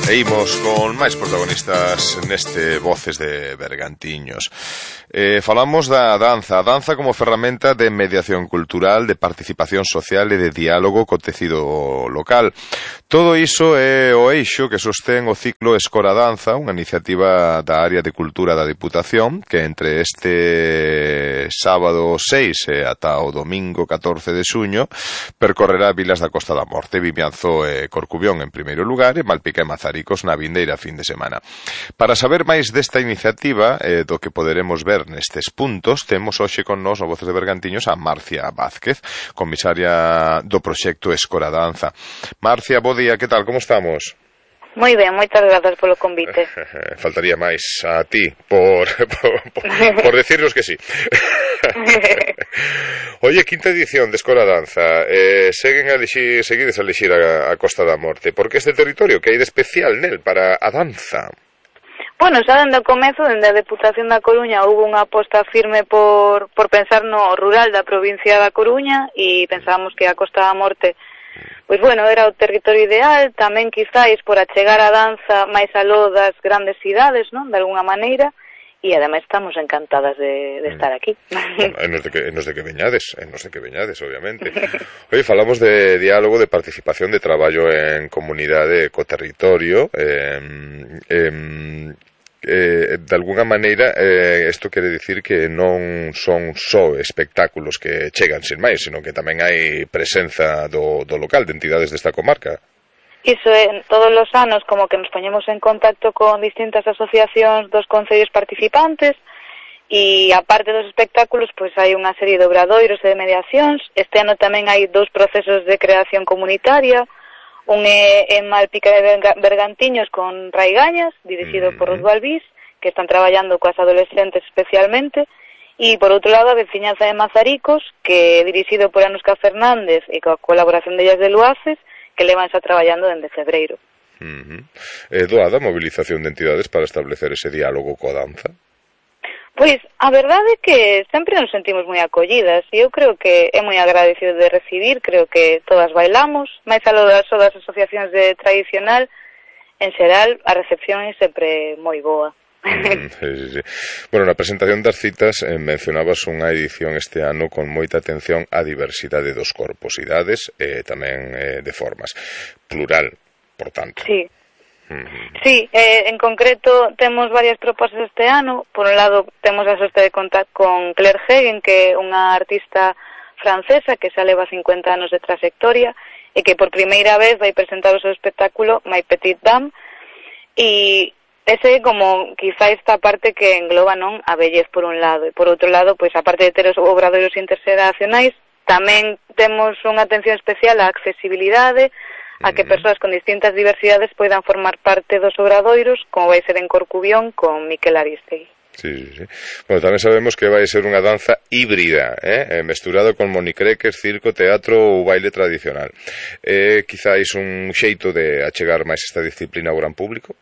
E imos con máis protagonistas neste Voces de Bergantiños. Falamos da danza. A danza como ferramenta de mediación cultural, de participación social e de diálogo co tecido local. Todo iso é o eixo que sostén o ciclo Escora Danza, unha iniciativa da área de cultura da Diputación, que entre este sábado 6 e ata o domingo 14 de xuño percorrerá vilas da Costa da Morte, Vimianzo e Corcubión en primeiro lugar e Malpica e Mazaricos na vindeira fin de semana. Para saber máis desta iniciativa do que poderemos ver nestes puntos, temos hoxe con nós no Voces de Bergantiños a Marcia Vázquez, comisaria do proxecto Escora Danza. Marcia, bo día, que tal, como estamos? Moi ben, moitas grazas polo convite. Faltaría máis a ti por decirnos que sí. Oye, quinta edición de Escora Danza. Seguides a elixir a Costa da Morte. Por que este territorio? Que hai de especial nel para a danza? Bueno, xa dende o comezo, dende a Deputación da Coruña, houve unha aposta firme por pensar no rural da provincia da Coruña e pensábamos que a Costa da Morte, pois bueno, era o territorio ideal, tamén quizáis por achegar a danza máis aló das grandes cidades, non? De alguna maneira, e ademais estamos encantadas de estar aquí. Nos de que veñades, obviamente. Oye, falamos de diálogo, de participación, de traballo en comunidade co territorio, de alguna maneira isto quere dicir que non son só espectáculos que chegan sin máis, sino que tamén hai presenza do local, de entidades desta comarca. Iso é, todos os anos como que nos poñemos en contacto con distintas asociacións dos concellos participantes e aparte dos espectáculos pois hai unha serie de obradoiros e de mediacións. Este ano tamén hai 2 procesos de creación comunitaria. Un é en Malpica de Bergantiños con Raigañas, dirixido por Ruth Balbís, que están traballando coas adolescentes especialmente, e por outro lado a veciñanza de Mazaricos, que é dirixido por Anuska Fernández e coa colaboración de Ellas de Luaces, que levan xa traballando dende febreiro. Doada a mobilización de entidades para establecer ese diálogo coa danza? Pois, a verdade é que sempre nos sentimos moi acollidas e eu creo que é moi agradecido de recibir, creo que todas bailamos, máis aló das asociacións de tradicional, en xeral a recepción é sempre moi boa. Sí. Bueno, na presentación das citas mencionabas unha edición este ano con moita atención á diversidade dos corpos, idades e tamén de formas. Plural, por tanto. Sí. Sí, en concreto temos varias propostas este ano. Por un lado temos a sorte de contar con Claire Hegen, que é unha artista francesa que xa leva 50 anos de trayectoria e que por primeira vez vai presentar o seu espectáculo My Petite Dame, e ese é como quizá esta parte que engloba, non, a bellez por un lado, e por outro lado, pois aparte de ter os obradoiros interxeracionais, tamén temos unha atención especial á accesibilidade, a que persoas con distintas diversidades poidan formar parte dos obradoiros, como vai ser en Corcubión con Miquel Aristegui. Sí. Bueno, tamén sabemos que vai ser unha danza híbrida, mesturado con monicreques, circo, teatro ou baile tradicional. Quizáis un xeito de achegar máis esta disciplina ao gran público?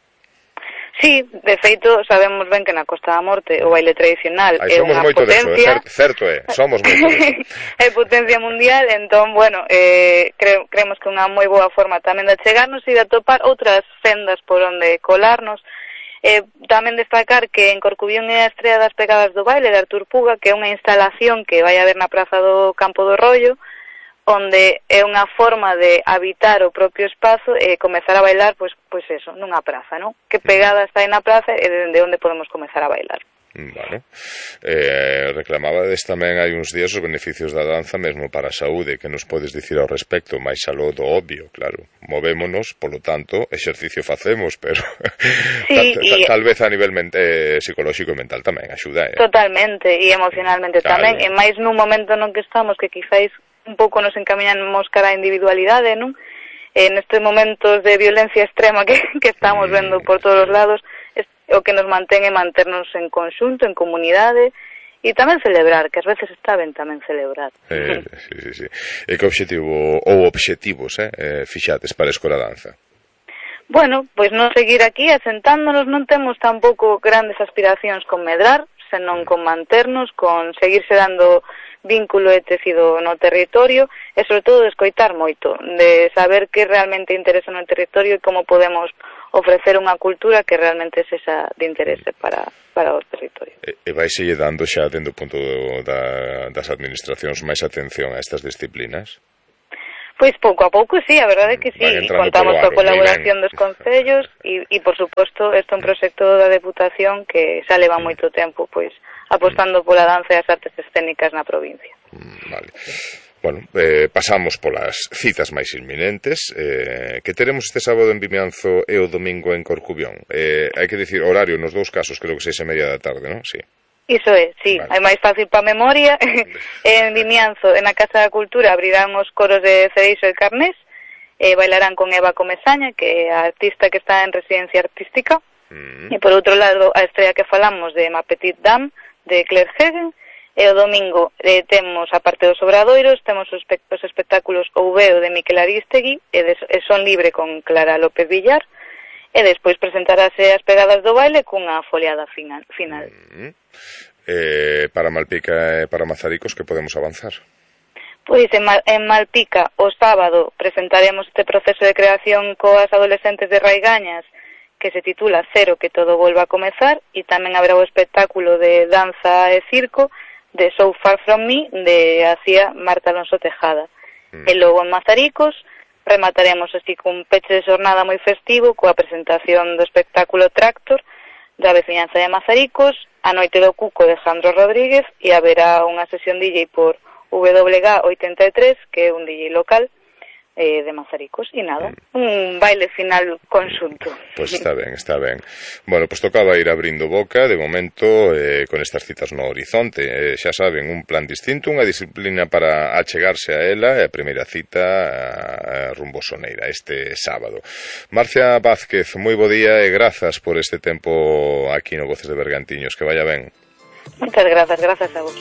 Sí, de feito, sabemos ben que na Costa da Morte o baile tradicional é unha potencia. Certo somos moito deso. É potencia mundial, entón, bueno, creemos que unha moi boa forma tamén de chegarnos e de atopar outras sendas por onde colarnos. Tamén destacar que en Corcubión é a estrela das pegadas do baile de Artur Puga, que é unha instalación que vai haber na praza do Campo do Rollo, onde é unha forma de habitar o propio espazo e comezar a bailar, pois eso, nunha praza, non? Que pegada está aí na praza e dende onde podemos comezar a bailar. Vale. Reclamabades tamén hai uns días os beneficios da danza mesmo para a saúde, que nos podes dicir ao respecto, máis aló do obvio, claro. Movémonos, polo tanto, exercicio facemos, pero sí, tal vez a nivel psicolóxico e mental tamén axuda. Totalmente, e emocionalmente tamén, e máis nun momento non que estamos que quizáis un pouco nos encaminamos cara á individualidade, non? Nestes momentos de violencia extrema que estamos vendo por todos os lados, o que nos mantén é manternos en conxunto, en comunidade, e tamén celebrar, que ás veces está ben tamén celebrar. Sí. E que obxectivos fixates para a Escora Danza? Bueno, pois non seguir aquí asentándonos, non temos tampouco grandes aspiracións con medrar, senón con manternos, con seguirse dando vínculo e tecido no territorio e, sobre todo, de escoitar moito, de saber que realmente interesa no territorio e como podemos ofrecer unha cultura que realmente sexa de interese para o territorio. E vaise dando xa dentro do punto das administracións máis atención a estas disciplinas? Pois pouco a pouco, sí, a verdade é que sí. Contamos coa colaboración dos concellos e, por suposto, este é un proxecto da Deputación que xa leva moito tempo, pois, apostando pola danza e as artes escénicas na provincia. Vale. Bueno, pasamos polas citas máis inminentes, que teremos este sábado en Vimianzo e o domingo en Corcubión. Hai que dicir horario nos dous casos, creo que 6:30 da tarde, non? Sí. Iso é, sí, vale. É máis fácil para a memoria. En Vimianzo, en a Casa da Cultura, abrirán os coros de Cereixo e Carnés, bailarán con Eva Comesaña, que é a artista que está en residencia artística, e por outro lado, a estrella que falamos de Ma Petite Dame, de Claire Hegen, e o domingo temos, a parte dos obradoiros, temos os espectáculos Ouveo de Miquel Aristegui e Son Libre con Clara López Villar, e despois presentarase as pegadas do baile cunha foliada final. Para Malpica e para Mazaricos, que podemos avanzar? Pois en Malpica o sábado presentaremos este proceso de creación coas adolescentes de Raigañas que se titula Cero, que todo volva a comezar, e tamén haberá o espectáculo de danza e circo de So Far From Me de Acía Marta Alonso Tejada. E logo en Mazaricos remataremos así cun peche de xornada moi festivo coa presentación do espectáculo Tractor da veciñanza de Mazaricos, a Noite do Cuco de Jandro Rodríguez, e haberá unha sesión DJ por WG83, que é un DJ local de Mazaricos, e nada, un baile final conxunto. Pois está ben, está ben. Bueno, pois tocaba ir abrindo boca, de momento, con estas citas no horizonte. Xa saben, un plan distinto, unha disciplina para achegarse a ela, e a primeira cita rumbo Soneira, este sábado. Marcia Vázquez, moi bo día e grazas por este tempo aquí no Voces de Bergantiños, que vaya ben. Moitas grazas a vos.